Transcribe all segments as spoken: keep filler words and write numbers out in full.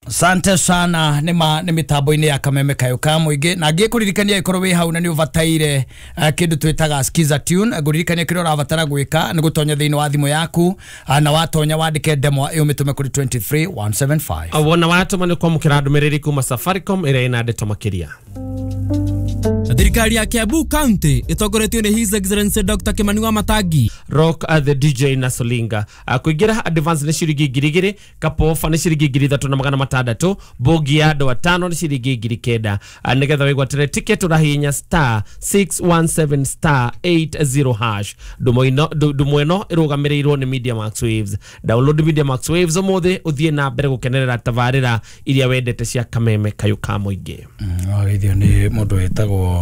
Asante sana nĩ ma nĩ mĩtambo-inĩ ya Kameme Kayo ka Mũingĩ na ngĩkũririkania ĩkorwo wĩ hau na nĩ ũbataire uh, kĩndũ twĩtaga Skiza Tune. Ngũririkania kĩrĩa ũrabatara gwĩka nĩ gũtonya thĩinĩ wa thimũ yaku, uh, na watonya wandĩke ndemwa ĩyo mĩtũme kũrĩ two three one seven five. Wona watũma nĩ kwamũkĩra ndũmĩrĩri kuma Safaricom ĩrĩa ĩna ndeto makĩria. Thirikari ya Kiambu County ĩtongoretio nĩ His Excellency Doctor Kimani wa Matangi. Rock uh, the D J na Solinga. uh, kuingĩra advance nĩ ciringi ngiri igĩrĩ, kapofa nĩ ciringi ngiri ithatũ na magana matandatũ, bogi ya andũ atano nĩ ciringi ngiri kenda. uh, nĩgetha wĩgwatĩre ticket ũrahihinya star six one seven star eight zero hash. Ndumo ino- ndu- ndumo ĩno ĩrũgamĩrĩirwo nĩ Media Max Waves. Download Media Max Waves ũmũthĩ ũthiĩ na mbere gũkenerera tabarĩra iria wendete cia Kameme Kayũ ka Mũingĩ. Wageithio nĩ mũndũ wĩtagwo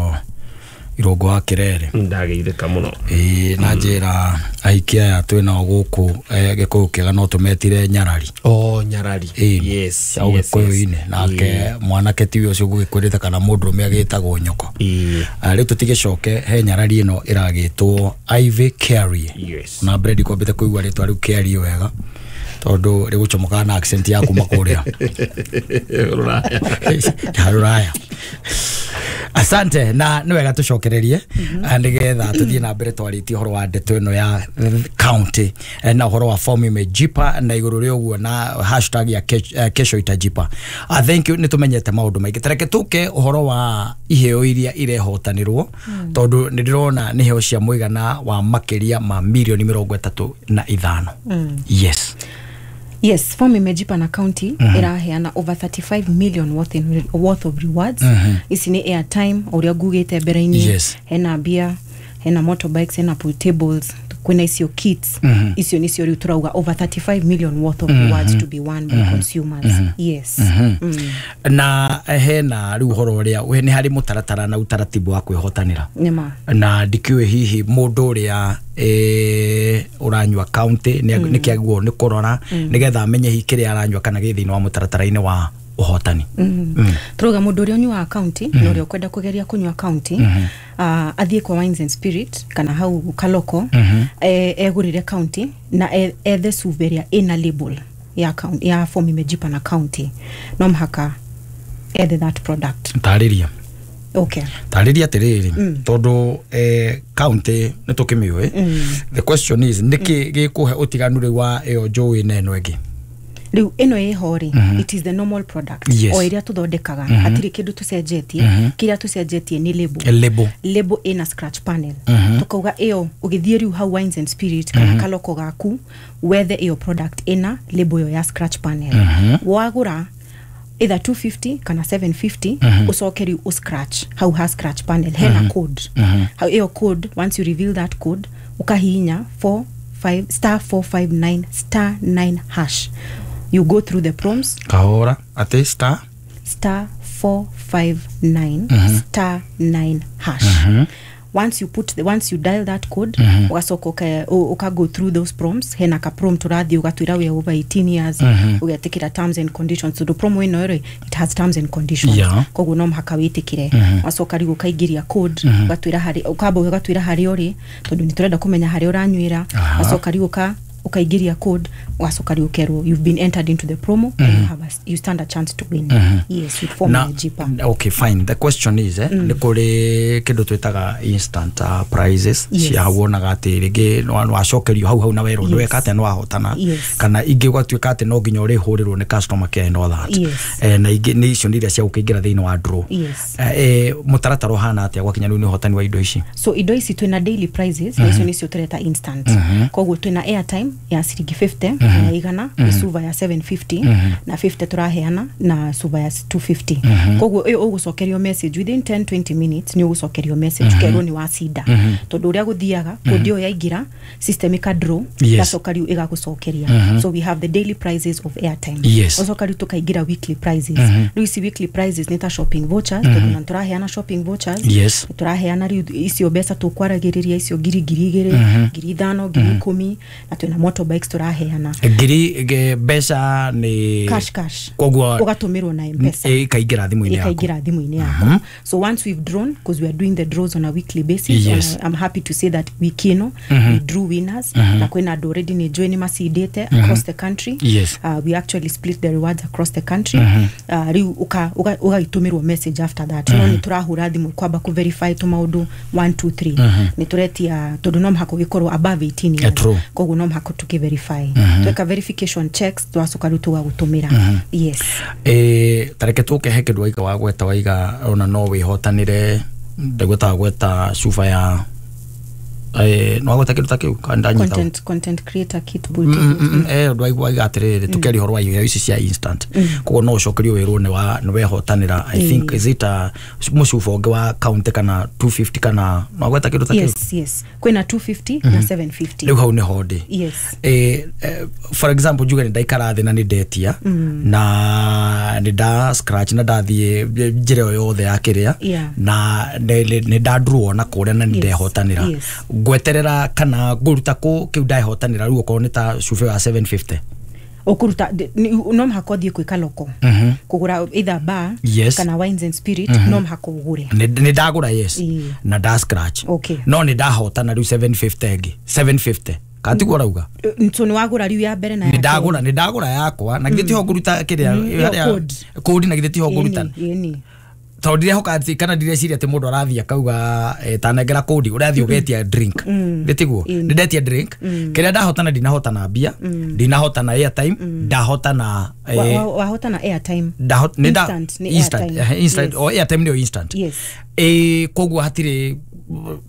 Irũngũ wa Kĩrere. Ndageithĩka mũno. Ĩĩ, na njĩra ahiki aya twĩnao gũkũ eh, Gĩkũyũ kĩega no tũmetire nyarari. Oh, nyarari. Ĩĩ, yes cia yes, yes. ũgĩkũyũ-inĩ nake mwanake tiwe ũcio ũgũgĩkwĩrĩte kana mũndũrũme agĩtagwo nyoko. Ĩĩ. Ah, rĩu tũtigĩcoke he nyarari ĩno ĩragĩtwo Ivy Carey. Yes. Na Bredi kwambĩte kũigua rĩtwa rĩu Carey wega tondũ rĩgũcomokaga na accent ya kuma kũrĩa Rũraya. Ya rũraya. Asante, na nĩ wega tũcokererie nĩgetha tũthiĩ na mbere twarĩtie ũhoro wa ndeto ĩno ya county eh, na ũhoro wa form imejipa na igũrũ rĩa ũguo na hashtag ya ke- eh, kesho itajipa. uh, thank you, nĩ tũmenyete maũndũ maingĩ. Tareke tũke ũhoro wa iheo iria irehotanĩrwo tondũ nĩ ndĩrona nĩ iheo cia mũigana wa makĩria ma mirioni mĩrongo ĩtatũ na ithano. Yes. Yes, form imejipa na county mm -hmm. iraheana over thirty-five million worth, in, worth of rewards. mm -hmm. Ici nĩ airtime ũrĩa ngugĩte mbere-inĩ. Yes. Hena mbia, hena motorbikes, hena pool tables, kwĩna icio kits. mm -hmm. Icio nicio rĩu tũrauga over thirty-five million worth of mm -hmm. rewards to be won by mm -hmm. consumers. mm -hmm. Yes. mm -hmm. mm. Na hena rĩu ũhoro ũrĩa we- nĩ harĩ mũtaratara na utaratibu wa kwĩhotanĩra. Nĩma. Na ndikĩũĩ hihi mũndũ ũrĩa eh, ũranyua county nĩ mm. nĩkĩagĩrĩirwo nĩ kũrora nĩgetha amenye hihi kĩrĩa aranyua kana gĩ thĩinĩ wa mũtaratara-inĩ wa ũhotani. mm. mm. Turauga mũndũ ũrĩa ũnyuaga county mm. na ũrĩa ũkwenda kũgeria kũnyua county mm -hmm. uh, athiĩ kwa Wines and Spirit kana hau Kaloko mm -hmm. e, egũrĩre county na e- ethe cuba ĩrĩa ĩna label ya, county, ya form imejipa na county. No mũhaka ethe that product. Tarĩria. Okay. Tarĩria atĩrĩrĩ, tondũ eh, county nĩ tũkĩmĩũĩ. The question is, nĩkĩ gĩkũhe ũtiganu rĩu wa ĩyo njũĩ na ĩno ĩngĩ? Rĩu ĩno ĩho rĩ, it is the normal product Yes. o ĩrĩa tũthondekaga. Hatirĩ kĩndũ tũcenjetie. Kĩrĩa tũcenjetie nĩ label. Label. Label ĩna scratch panel. Tukauga ĩyo ũgĩthiĩ rĩu hau Wines and Spirit kana Kaloko gaku wethe ĩyo product ĩna label ĩyo ya scratch panel. Wagũra either two fifty kana seven fifty, ucoke rĩu uscratch hau ha scratch panel hena code hau. Ĩyo code, once you reveal that code, ukahihinya four five star four five nine star nine hash, you go through the prompts. Kahora, atĩ star? Star four five nine star nine hash. Once you put the, once you dial that code, ugacoka uka, u- uka go through those prompts. Hena ka prompt urathi ugatwira we over eighteen years, ugetikira terms and conditions, tondu promo ĩno rĩ, it has terms and conditions. Yeah. Koguo no mũhaka wĩtĩkĩre. Wacoka rĩu ũkaingĩria code, ũgatwĩra harĩ ũkamba ũgatwĩra harĩa ũrĩ tondũ nĩ tũrenda kũmenya harĩa ũranywĩra. Aha. Wacoka rĩu ũka ukaingĩria code, wacoka rĩu ũkerwo you've been entered into the promo and you have a, you stand a chance to win. Yes, with form Na imejipa. Okay, fine. The question is, eh, nĩ kũrĩ kĩndũ twĩtaga instant uh, prizes Yes. cia wonaga atĩ rĩngĩ nĩ wacokerio hau hau na werwo Yes. nĩ weka atĩa nĩ wahotana, Yes. kana ingĩ ũgatuĩka atĩ no nginya ũrĩhũrĩrwo nĩ customer care and all that. Yes. Eh, na ingĩ nĩ icio nĩ iria cia gũkĩingĩra thĩinĩ wa draw. Yes. eh, eh, mũtaratara ũhana atĩa gwakinya rĩu nĩ ũhotani wa indo ici? So indo ici twina daily prizes na icio nicio tureta instant. Koguo twina airtime ya ciringi fifty na ya igana, mm suva ya seven fifty na fifty turaheana na suva ya two fifty. Koguo ĩyo ũgũcokerio message within ten twenty minutes, nĩ ũgũcokerio message ũkerwo nĩ wacinda, tondũ ũrĩa gũthiaga kũndi ĩyo yaingĩra system ĩka draw, Yes. ĩgacoka rĩu ĩgagũcokeria. So we have the daily prizes of airtime. Yes. Ũcoka rĩu tũkaingĩra weekly prizes. Rĩu ici weekly prizes nĩ ta shopping vouchers, tondũ na tũraheana shopping vouchers. Yes. Tũraheana rĩu icio mbeca tũkwaragĩrĩria, icio ngiri, ngiri igĩrĩ, ngiri ithano, ngiri ikũmi, na twĩna motorbikes tũraheana. Ngiri ge- mbeca nĩ Cash, cash. Koguo ũgatũmĩrwo na Mpesa. Ĩkaingĩra thimũ-inĩ yaku. Ikaingĩra thimũ-inĩ yaku. So once we've drawn, because we are doing the draws on a weekly basis, Yes. uh, I'm happy to say that wiki ĩno we drew winners, na kwĩna andũ already nĩ njũĩ nĩ macindĩte across the country. Yes. uh, we actually split the rewards across the country. uh, rĩu ũka- ũga- ũgagĩtũmĩrwo message after that. No nĩ tũrahũra thimũ kwamba kũ verify tũmaũndũ one two three, nĩ tũretia tondũ no mũhaka ũgĩkorwo above eighteen years. Yeah, true. Koguo no mũhaka tũkĩ verify, tweka verification checks, twacoka rĩu tũgagũtũmĩra. Yes. Eh, tareke tũke he kĩndũ waiga wagweta, waiga ona no wĩhotanĩre, ndagweta gweta cuba ya eh, no wagweta kĩndũ ta kĩu kana ndanyita? content content creator kit, pool Mm, table. mm, mm, eh ũndũ waigua waiga atĩrĩrĩ, tũkĩaria ũhoro wa iheo ici cia instant, koguo no ũcokerio wĩrwo nĩ wa nĩ wehotanĩra, I think, is it a mũcuba ũngĩ wa county kana two fifty, kana no wagweta kĩndũ ta kĩu? yes yes kwĩna two fifty na seven fifty. Rĩu hau nĩho ndĩ. Yes. eh, eh, for example, njuge nĩ ndaikara thĩ na nĩ ndetia na nĩ nda scratch na ndathiĩ njĩra ĩyo yothe ya kĩrĩa Yeah. na nĩ nĩ- nĩ ndadraw na kũrĩa na nĩ Yes, ndehotanĩra, yes. ngweterera kana ngũruta kũ kĩu ndahotanĩra rĩu, okorwo nĩ ta cuba ya seven fifty? Ũkũruta d- nĩ- no mũhaka ũthiĩ kwĩ kaloko kũgũra either bar Yes. kana wines and spirit, no mũhaka ũgũre. nĩ nĩ ndagũra, yes. Ĩĩ. Na nda scratch. Okay. No nĩ ndahotana rĩu seven fifty ĩngĩ seven fifty katiguo ũrauga? Eh, so nĩ wagũra rĩu ya mbere na nĩ ya ndagũra nĩ ndagũra yakwa, na githĩ tiho ngũruta kĩrĩa Mm, harĩa- code. Code, na githĩ tiho ngũruta? Ĩni, ĩni. Tondũ ndirehoka atĩ kana ndireciria atĩ mũndũ arathiĩ akauga eh, tanengera kũndi, ũrathiĩ ũgetia drink, nĩ tiguo? Ĩni. Nĩ ndetia drink, kĩrĩa ndahotana, ndinahotana mbia, ndinahotana airtime, ndahotana eh, Wa- wa- wahotana airtime. ndaho- nĩ nda- Instant, nĩ instant, airtime. eh, instant. Yes. O airtime nĩyo instant? Yes. Ĩ koguo hatirĩ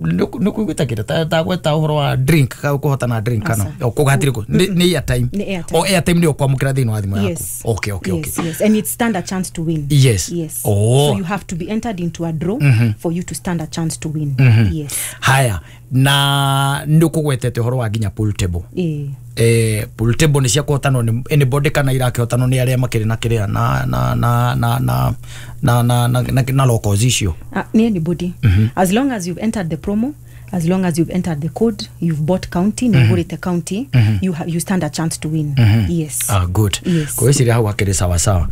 nĩ kuiguĩte kĩrĩa tagweta ũhoro wa drink ka kũhotana drink kana Aca. o koguo hatirĩ kũ- nĩ nĩ airtime? Nĩ airtime. O airtime nĩyo kwamũkĩra thĩinĩ wa thimũ yaku? Yes. okay okay okay Yes, yes. And it stand a chance to win. Yes. Yes. Oh. So you have to be entered into a draw for you to stand a chance to win. Yes. Haya, na nĩ ũkũgwetete ũhoro wa nginya pool table. Eh. Eh, pool table nĩ cia kũhotanwo nĩ anybody kana irakĩhotanwo nĩ arĩa makĩrĩ na kĩrĩa na na na na na na na na na na locals icio? Uh, ni anybody. As long as you've entered the promo, as long as you've entered the code, you've bought county, mm -hmm. county, you, ha you stand a chance to win. Yes. Ah, good. Yes. Ngwĩciria hau hakĩrĩ sawa sawa.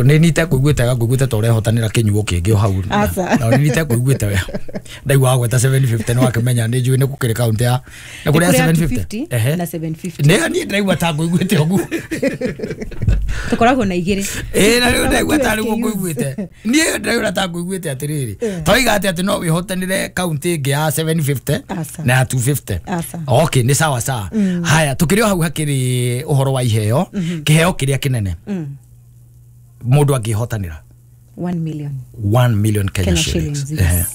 Nĩ nite kũiguĩte ngũiguĩte ta ũrehotanĩra kĩnyuo kĩngĩ o hau. Aca. Na nĩ nite kũiguĩte we ndaigua wagweta seven fifty, nĩ wakĩmenya nĩ njũĩ nĩ gũkĩrĩ kaunti ya nĩ kũrĩ ya Nĩ kũrĩ ya seven fifty. two fifty Ehe. na seven fifty. Nĩ niĩ ndĩraigua ta ngũiguĩte ũguo. Tũkoragwo na igĩrĩ. Ĩ na rĩu ndaigua ta rĩu Two S K Us. ngũiguĩte, niĩ ndĩraigua ta ngũiguĩte atĩrĩrĩ, toiga atĩ atĩ no wĩhotanĩre kaunti ĩngĩ ya seven fifty Aca. na ya two fifty. Aca. Okay, nĩ sawa sawa. Haya, tũkĩrĩ o hau hakĩrĩ ũhoro wa iheo, kĩheo kĩrĩa kĩnene mũndũ angĩhotanĩra? one million. one million Kenya, Kenya shillings. shillings, yes. Ehe.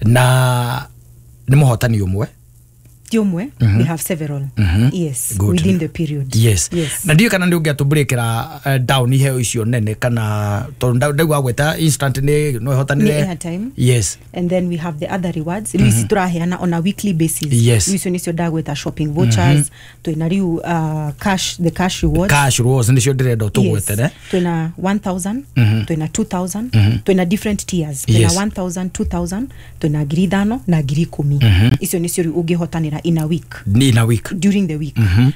Na nĩ mũhotani ũmwe? Ti ũmwe, we have several. Yes. Good. Within the period. Yes. Yes. Na ndiũĩ kana nĩ ũngĩatũbreakĩra eh, down iheo icio nene, kana tondũ nda- ndaigua gweta instant nĩ no ĩhotanĩre. Nĩ airtime. Yes. And then we have the other rewards rĩu ici tũraheana on a weekly basis. Yes. Rĩu icio nĩcio ndagwĩta shopping vouchers, twĩna rĩu uh, cash, the cash rewards. Cash rewards nĩcio ndĩrenda ũtũgwetere. Yes. Twĩna one thousand, twĩna two thousand, twĩna different tiers, twĩna Yes. one thousand, two thousand, twĩna ngiri ithano na ngiri ikũmi. Icio nĩcio rĩu ũngĩhotanĩra in a week. Ni in a week. During the week,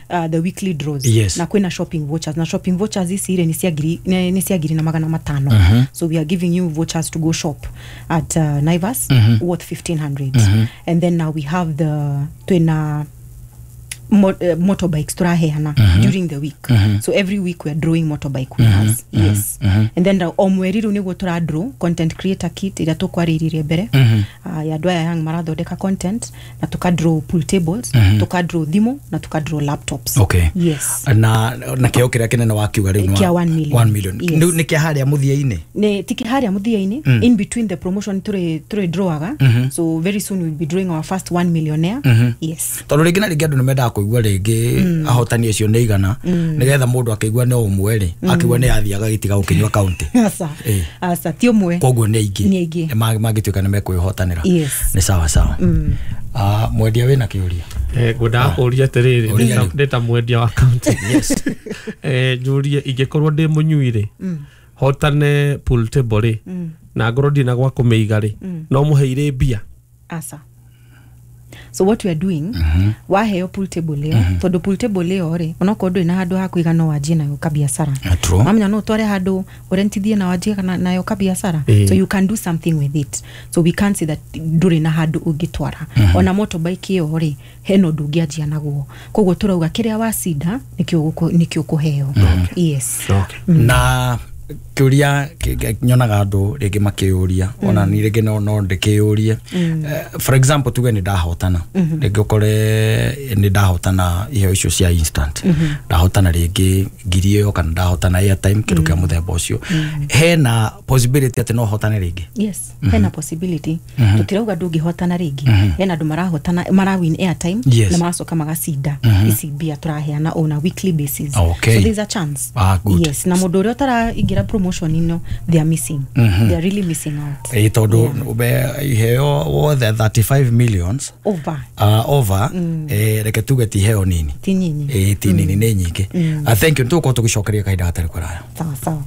uh, the weekly draws. Yes. Na kwĩna shopping vouchers, na shopping vouchers ici rĩ nĩ cia ngiri nĩ nĩ cia ngiri na magana matano. So we are giving you vouchers to go shop at uh, Naivas worth fifteen hundred. And then now we have the twĩna mo uh, motorbikes tũraheana during the week. So every week we are drawing motorbike winners. Yes. And then uh, o mweri rĩu nĩguo tũra draw content creator kit ĩrĩa tũkwarĩrĩrie mbere, uh, ya andũ aya young marathondeka content, na tuka draw pool tables, tuka draw thimũ, na tuka draw laptops. Okay. Yes. Na na kĩheo kĩrĩa kĩnene wakiuga rĩu nĩ wa- Kĩa one million. one million. Yes. Rĩu nĩ kĩa harĩa mũthia-inĩ? Nĩ tiki harĩa mũthia-inĩ, in between the promotion tũrĩ tũrĩ drawaga. So very soon we'll be drawing our first one millionaire. Yes. Tondũ rĩngĩ na rĩngĩ andũ nĩ mendaga kũigua rĩngĩ ahotani acio nĩ igana, nĩgetha mũndũ akĩigua nĩ ũmwe rĩ, akĩigua nĩ athiaga gĩtiga gũkĩnyua kaunti. Aca. Eh. Aca, ti ũmwe. Koguo nĩ aingĩ. Nĩ aingĩ. Nĩ ma- mangĩtuĩka nĩ mekwĩhotanĩra. Yes. Nĩ sawa sawa. Ah, mwendia wĩna kĩũria? Eh, ngwendaga kũũria atĩrĩrĩ, Ũria. ndĩ ta- ndĩ ta mwendia wa kaunti, Eh, njũrie, ingĩkorwo ndĩ mũnyui rĩ, hotane pool table rĩ, na ngorwo ndirĩ na gwa kũmĩiga rĩ, no mũheire mbia? Aca. So what we are doing, mm -hmm. waheo pool table ĩyo, mm -hmm. tondũ pool table ĩyo rĩ, onokorwo ndũrĩ na handũ ha kũiga no wanjie nayo kabiacara. Mamenya no ũtware handũ ũrentithie na wanjie nayo kabiacara. Eh. So you can do something with it. So we can't say that ndũrĩ na handũ ũngĩtwara. Mm -hmm. Ona motorbike ĩyo rĩ, hena ũndũ ũngĩanjia naguo. Koguo tũrauga kĩrĩa wacinda nĩkĩo nĩkĩo ũkũheo. Mm -hmm. Yes. Okay. Mm. Na kiuria nyonaga andu ringi makiuria ona ni ringi no no ndikiurie. For example tuge ni ndahotana ringi ukore ni ndahotana iheo icio cia instant, ndahotana ringi ngiri iyo kana ndahotana airtime kindu kia muthemba ucio, hena possibility ati no hotane ringi? Yes, hena possibility. Tutirauga ndungihotana ringi, hena andu marahotana marawin airtime na maracoka magacinda ici mbia turaheana on a weekly basis. Okay. So there's a chance. Ah, good. Yes, na mundu uria utaraingira promotion ino, they are missing. Mm -hmm. They are really missing out. Eh todo iheo wothe thirty-five millions over. Uh, over mm. Eh reke tuge ti iheo nini. Ti nyinyi. Eh ti nini ni nyingi. I thank you tuko tugicokeria kahinda gatari kuraya. Sawa sawa.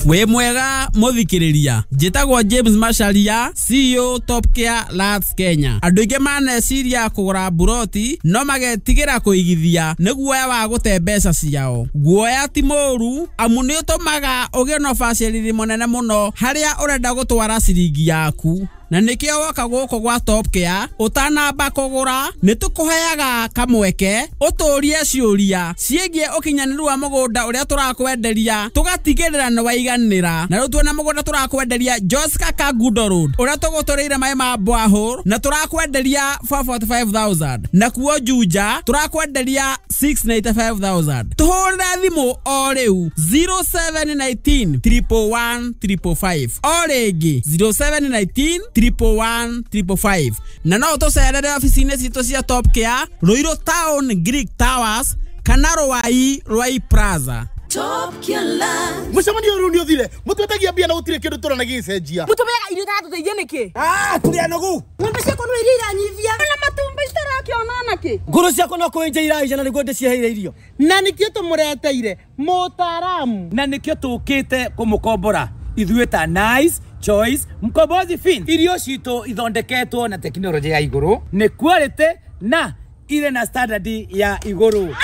Wĩ mwega mũthikĩrĩria, njĩtagwo James Macharia, C E O Top Care Lands Kenya. Andũ aingĩ maneciria kũgũra mburoti no magetigĩra kũigithia nĩ guoya wa gũte mbeca ciao. Guoya ti mũũru amu nĩ ũtũmaga ũgĩe na ũbacĩrĩri mũnene mũno harĩa ũrenda gũtwara ciringi yaku. Na nĩkĩo woka gũkũ gwa Top Care ũtanamba kũgũra nĩ tũkũheaga kamweke ũtũrie ciũria ciĩgiĩ ũkinyanĩru wa mũgũnda ũrĩa tũrakwenderia tũgatigĩrĩra nĩ waiganĩra. Na rĩu tuona mũgũnda tũrakwenderia Joska Kangundo Road ũrĩa tũgũtũrĩire maĩ ma borehole na tũrakwenderia four forty-five thousand, na kuo Juja tũrakwenderia six ninety-five thousand. Tũhũrĩre thimũ o rĩu zero seven nineteen triple one triple five, o rĩngĩ zero seven nineteen triple one triple five. Na no tũcerere ofici-inĩ citũ cia Top Care Ruiru Town Greek Towers kana Ruai Ruai Plaza. Top Care Lands. Mucemanio riu ni uthire mutwetagia mbia na gutire kindu turona gicenjia. Mutumeaga irio iratũteithia nĩkĩ? Ah, tũrĩ anogu. Ng'ombe ciakwa no iria iranyivia na matumbĩ citarakĩona nakĩ. Ngũrũ ciakwa no kũenja iraija na nĩguo ndĩciheire irio. Na nĩkĩo tũmũreteire mũtaaramu. Na nĩkĩo tũkĩte kũmũkombora ithuĩ ta Nice Choice Mkombozi Fin. Irio citũ ithondeketwo na tekinoronjĩ ya igũrũ, nĩ quality na ire na standard ya igũrũ.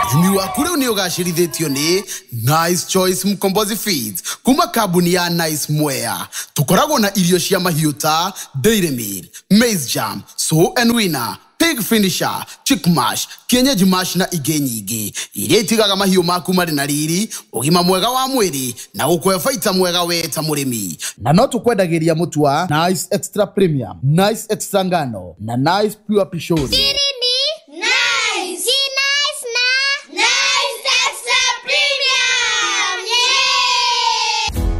Ũrĩmi waku rĩu nĩ ũgacĩrithĩtio nĩ Nice Choice Mkombozi Feeds kuma kambuni ya Nice Mwea. Tũkoragwo na irio cia mahiũ ta Dairy Meal, Maize Jam, Sow and Winner, Pig Finisher, Chick Mash, Kienyeji Mash na ingĩ nyingĩ iria itigaga mahiũ maku marĩ na riri, ũgima mwega wa mwĩrĩ na gũkũhe baita mwega we ta mũrĩmi. Na no tũkwendagĩria mũtu wa Nice Extra Premium, Nice Extra Ngano na Nice Pure Pishori. Nice. Nice na Nice Extra Premium. Yeah!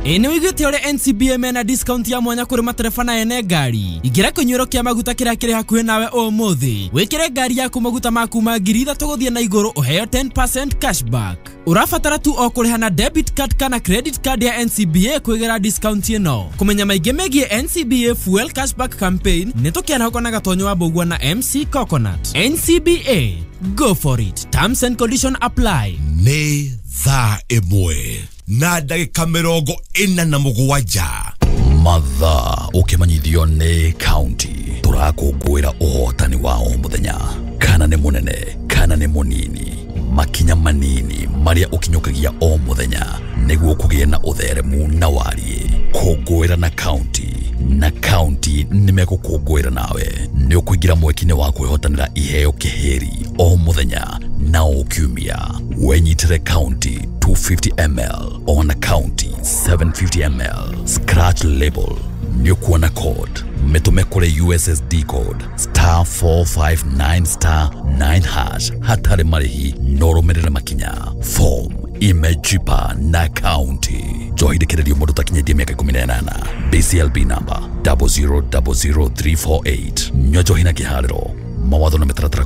Ĩ nĩ wĩiguĩte ũrĩa N C B A mena discount ya mwanya kũrĩ matereba na ene ngari. Ingĩra kĩnyuĩro kĩa maguta kĩrĩa kĩrĩ hakuhĩ nawe ũmũthĩ. Wĩkĩre ngari yaku maguta ma kuma ngiri ithatũ gũthiĩ na igũrũ ũheo ten percent cashback. Ũrabatara tu o kũrĩha na debit card kana credit card ya N C B A kwĩgĩra discount ĩno. Kũmenya maingĩ megiĩ N C B A Fuel Cashback Campaign nĩ tũkĩarahũka na Gatonyo wa Mbũgua na M C Coconut. N C B A, go for it. Terms and conditions apply. Nĩ thaa ĩmwe na ndagĩka mĩrongo ĩna na mũgwanja. Mathaa ũkĩmanyithio nĩ county tũrakũngũĩra ũhotani wa o mũthenya, kana nĩ mũnene kana nĩ mũnini, makinya manini marĩa ũkinyũkagia o mũthenya nĩguo kũgĩe na ũtheremu na wariĩ. Kũngũĩra na county na county nĩmegũkũngũĩra nawe. Nĩ ũkũingĩra mweke-inĩ wa kwĩhotanĩra iheo kĩhĩri o mũthenya na o kiumia. Wenyitĩre county two fifty milliliters ona county seven fifty milliliters scratch label nĩ ũkuona code mĩtũme kũrĩ U S S D code star four five nine star nine hash hatarĩ marĩhi no ũrũmĩrĩre makinya. Form imejipa na county. Njohi ndĩkĩrĩrio mũndũ ũtakinyĩtie mĩaka ikũmi na ĩnana. B C L B number double zero double zero three four eight. Nyua njohi na kĩharĩro. Mawatho na mĩtaratara.